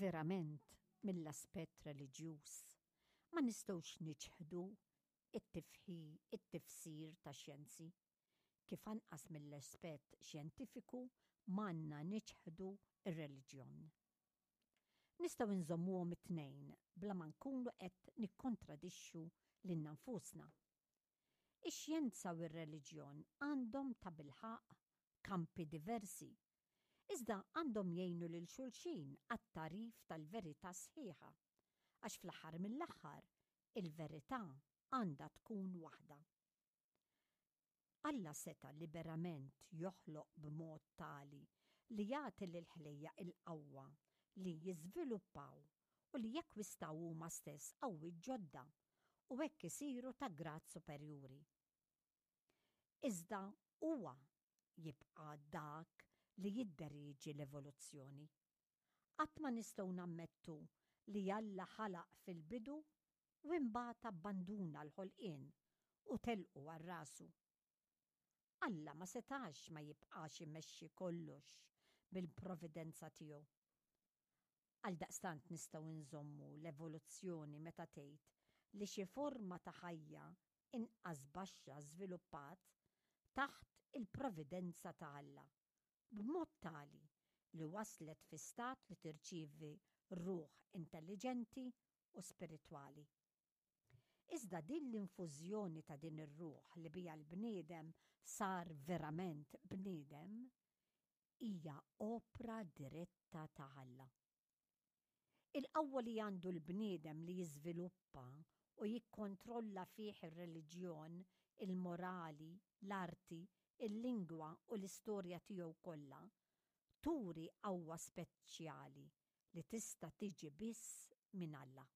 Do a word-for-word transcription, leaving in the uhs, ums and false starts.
Verament, mill-aspett reliġjuż, ma nistgħux niċħdu it-tifħi it-tifsir ta' xjenzi, kif anqas mill-aspett xjentifiku m'għandna niċħdu ir-reliġjon. Nistgħu nżommuhom it-tnejn bla ma nkunu qed nikkontradixxu lilna nfusna. Ix-xjenza u r-reliġjon għandhom tabilħaqq kampi diversi, iżda għandhom jgħinu lil xulxin għat-tagħrif tal-verità sħiħa, għax fl-aħħar mill-aħħar il-verità għandha tkun waħda. Alla seta' liberament joħloq b'mod tali li jagħti lill-ħlejjaq il-qawwa li jiżviluppaw u li jekkwistaw huma stess qawwiet ġodda u hekk isiru ta' grad superjuri. Iżda huwa jibqa' dak li jidderieġi l-evoluzzjoni. Qatt ma nistgħu nammettu li Alla ħalaq fil-bidu u imbagħad abbanduna l-ħolqien u telqu għal rasu. Alla ma setax ma jibqax imexxi kollox bil-providenza tiegħu. Għaldaqstant nistgħu nżommu l-evoluzzjoni meta tgħid li xi forma ta' ħajja inqas baxxa żviluppat taħt il-providenza ta' Alla, b'mod tali li waslet fi stat li tirċievi ruħ intelliġenti u spiritwali. Iżda din l-infużjoni ta' din ir-ruħ li bija l-bniedem sar verament bniedem hija opra diretta ta' Alla. Il-qawwa li għandu l-bniedem li jiżviluppa u jikkontrolla fih ir-reliġjon, il-morali, l-arti, il-lingwa u l-istorja tiegħu kollha, turi qawwa speċjali li tista' tiġi biss minn Alla.